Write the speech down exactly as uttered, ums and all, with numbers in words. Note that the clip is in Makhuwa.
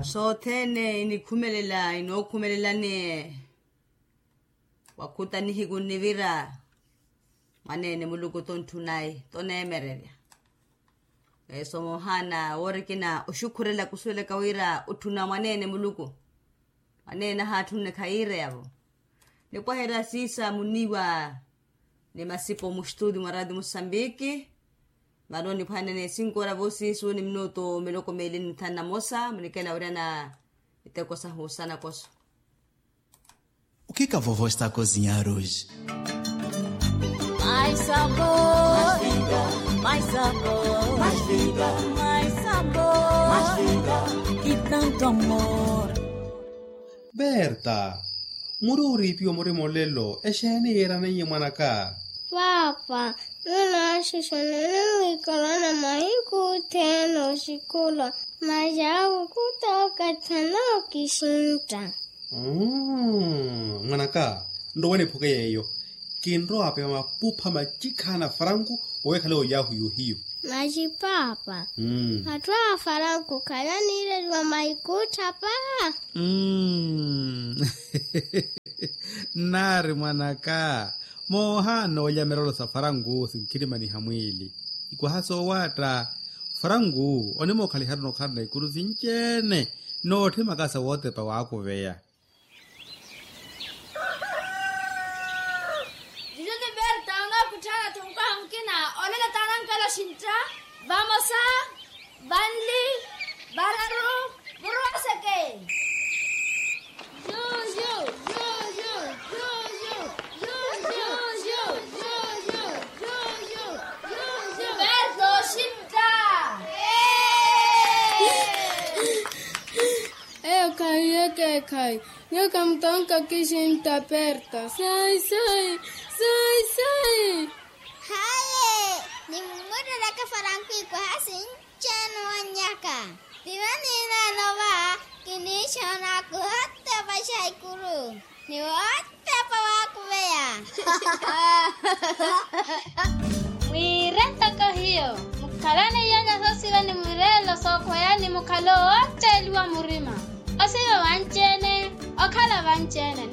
Sothene inikhumelela inookhumelelani. Wakhuta nihiku nnivira mwaneene muluku tontthuna-i toneemererya. Esomohana woorikina oxukhurela kusuwelaka wira otthuna mwaneene muluku. Mwaneene ahaatthunne khayiireyavo. Nipwaherya siisa muniiwa ni masipo muxtuti mwa rati musambiki. Mano niphwanene sinkoora voosiisu ni minutu miloko meeli ni nthanu na mosa munikela wira na iteko sahu sanakoso. O kika vovo esta kozinyaruji? Mais sabor, mais sabor, mais sabor, mais sabor, que tanto amor. Berta, muri oriipiwa murima olelo exeeni yiiraneiye mwanaka? Paapa, nunaaxuxa nini wiikalana mahiku othene oxikulwa, masi akukuta okathi anookisintta. Mwanaka, nrowa niphuke yeeyo. Kinrowa apeya mapupha macikhana faranku owekhale oyahu yohiyo. Masi paapa, atthu a faranku khalaniireliwa maikuttha paa. Nnaari mwanaka, moohaana oolya mirelo sa faranku sinkhirimaniha mwiili. Ikwaha soowaatta, faranku onimookhaliharu nokhalana ikuru sinci-ene. Nootthimaka sa wootepa waakuveya. Juju ni berta onookutthaana-tho nkaha mukina. Olelo taana nkelo xintta. Vamosa, vanli, vararu, muruwaseke. Juju, juju, juju. Ni berta oxintta. Eyo khahi yeke ekhayi. Nyuwo khamutonka okixintta perta. Sai sai, sai sai. Haye, nimmutteleke faranku ikwaha sinci-ene owannyaka. Tivo niinaano va, kiniixoona kuhotepa xaikuru. Ni wootepa waakuveya. Mwiire ntoko hiyo, mukhalane iyanya soosiva ni mwireelo sookhweyani mukhale owootteeliwa murima. Osiva vanci-ene, okhala vanci-ene.